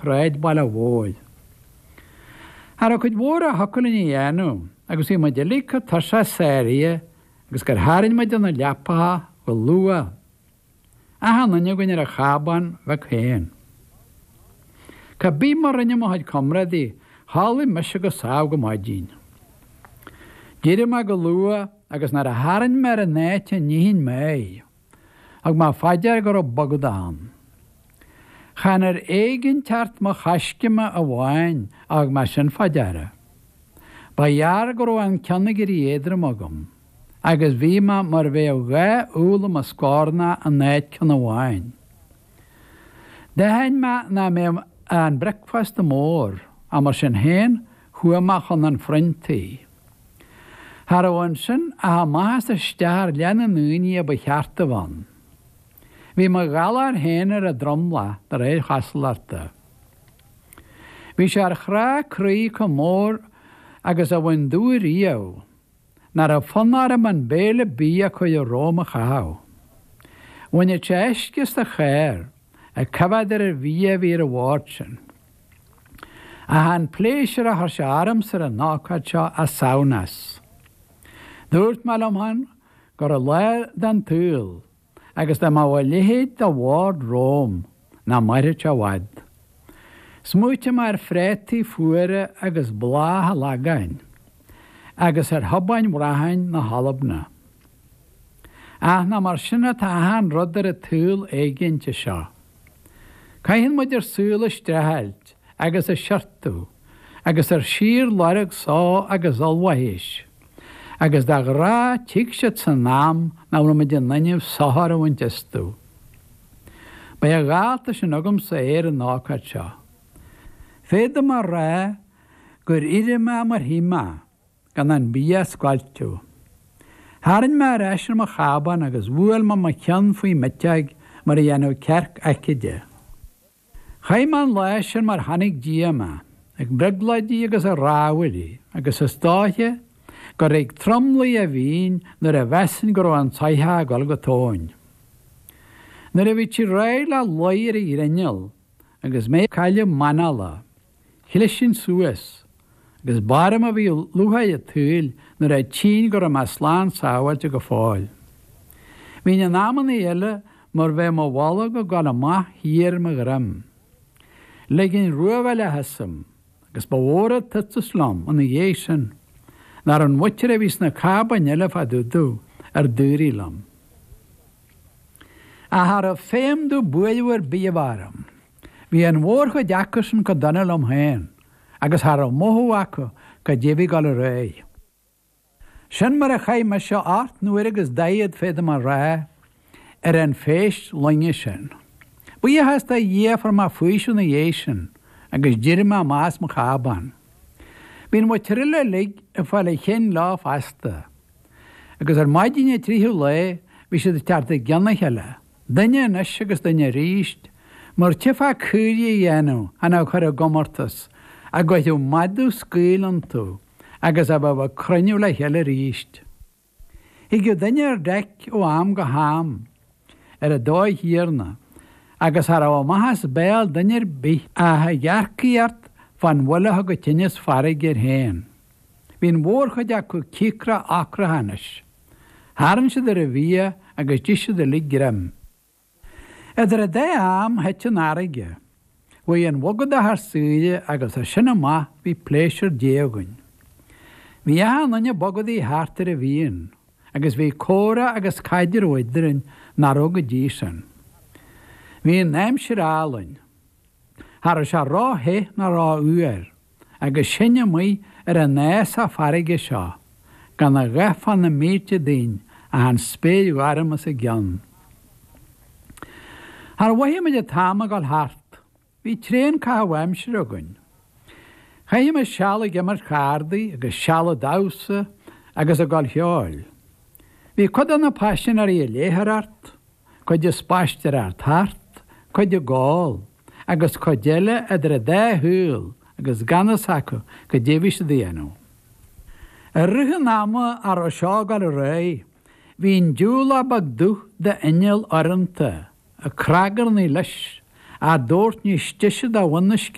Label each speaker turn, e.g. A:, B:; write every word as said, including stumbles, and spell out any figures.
A: shráidbhaile mhóir. Cha raibh cuid mhór a thiocfadh linn a dhéanamh agus bhí muid uilig chomh tuirseach sáraithe agus gur tharraing muid ar na leapacha go luath, achan duine againn ar a chábán bheag féin. Cá bith mar rinne mo chuid comrádaí, chodlaigh mise go sámh go maidin. D'éirigh mé go luath agus nuair a tharraing mé ar an áit a n-itheann mé, thug mé fá dear go raibh bogadach ann. Chan ar éiginnteacht mo choiscéime amháin a thug mé sin fá deara. Ba ghearr go raibh an ceann ag éirí éadrom agam, agus bhí mé mar bheadh dhá úll i mo scornach in áit ceann amháin. D'aithin mé nach mbeadh an bricfeasta mór, ach mar sin féin chuaigh mé chun an phriontaí. Cha raibh ansin ach amach is isteach ar leath na ndaoine a ba cheart a bheith ann. Bhí mo ghalar féin ar an dromlach de réir chosúlachta. Bhí sé ar chrá croí chomh mór agus a bhain domh riamh, nach raibh fonn orm an béile bídh a cuireadh romham a chaitheamh. Bhaineadh sé uisce as do charr, ag coimhéad ar an bhia a bhí ar an bhord sin. Ach an pléisiúr a chuir sé ormsa ar an ócáid seo as samhnas. Dúirt mé liom féin go raibh lá den tsaol agus dá mbeadh a leithéid de bhord romham nach mairfeadh sé i bhfad. Smaoitigh mé ar phréataí fuara agus bláth an Lagáin agus ar thobáin bhracháin na hAlban. Ach nach mar sin atá achan rud ar an tsaol éiginnte seo. Caitheann muid ár saol ag streachailt agus ag siortú agus ar síorlorg só agus ollmhaithéis, agus de ghnáth tig siad san am nach bhfuil muid in innimh sochar a bhaint astu. Beidh a dhalta sin agamsa ar an ócáid seo. Féadfaidh mé a rá gur éirigh mé mar shí mé, gan an bia a scoilteadh. Tharraing mé ar ais ar mo chábán agus bhuail mé mo cheann faoi m'eiteog mar a dhéanfadh cearc aicíde. Chaith mé an lá sin mar chonaic Dia mé, ag brioglóidí agus ag rámhaillí, agus is dóiche gur ag tromluí a bhínn nuair a mheasainn go raibh an soitheach ag dul go tóin. Nuair a bhí sí réidh le luí ar an ghrinneall agus mé ag cailleadh m'anála, chlisinn suas, agus b'orm a bhí lúcháir an tsaoil nuair a tchínn go raibh mé slán sábháilte go fóill. Bhínn in amannaí eile mar bheadh mo bholg ag dul amach thiar mo dhroim. Liginn ruabhaill asam, agus ba mhór an t-iontas liom ina dhiaidh sin nach raibh an mhuintir a bhí sna cábáin eile fá dtaobh domh ar daoraí liom. Ach cha raibh feidhm domh buaireamh ar bith a bheith orm. Bhí an mhórchuid acusan chomh dona liom féin, agus cha raibh mothú acu cad é a bhí ag dul ar aghaidh. Sin mar a chaith mise ocht n-uaire agus daichead, féadfaidh mé a rá, ar an phéist loinge sin. Buíochas do Dhia fuair mé faoiseamh ina dhiaidh sin agus d'éirigh mé amach as mo chábán. Bhí an mhuintir eile uilig ag fáil a chinn leo fosta. Agus ar maidin an tríú lae bhí siad ag teacht i gcionn a chéile, duine anois agus duine arís, mar tchífeá caoirigh á dhéanamh chun a chur i gcomórtas a gcuirfeadh madadh scaoll iontu agus a bheadh ag cruinniú le chéile arís. Thigeadh duine ar deic ó am go ham ar an dóigh chéanna agus cha raibh amach as béal duine ar bith ach ag earcaíocht fán bhuille a thug tinneas farraige air féin. Bhí an mhórchuid acu cíocrach ocrach anois. Tharraing siad ar an bhia agus d'ith siad uilig greim. Idir an dá am thit an fharraige. Chuaigh an bhogadach ar saoire agus as sin amach bhí pléisiúr Dé againn. Bhí achan duine ag bogadaigh thart ar an bhfíon, agus bhí comhrá agus caidreamh eadrainn nach raibh go dtí sin. Bhí an aimsir álainn. Cha raibh sé ró-the ná ró-fhuar, agus sinn amuigh ar an fhásach farraige seo, gan a dhath fá na mílte dínn ach an spéir ghorm os a gcionn. Char mhothaigh muid an t-am ag dul thart. Bhí tréan caitheamh aimsire againn. Chaithimis seal ag imirt chárdaí agus seal ag damhsa agus ag gol cheoil. Bhí cuid de na paisinéirí ag léitheoireacht, cuid ag spaisteoireacht thart, cuid ag ól, agus cuid eile idir an dá shaol agus gan fhios acu cad é a bhí siad a dhéanamh. I rith an ama a raibh seo ag dul ar aghaidh, bhí an diúlach beag dubh d'inneall urrúnta ag cnagarnaigh leis Ach dubhairt níos deise do bhun na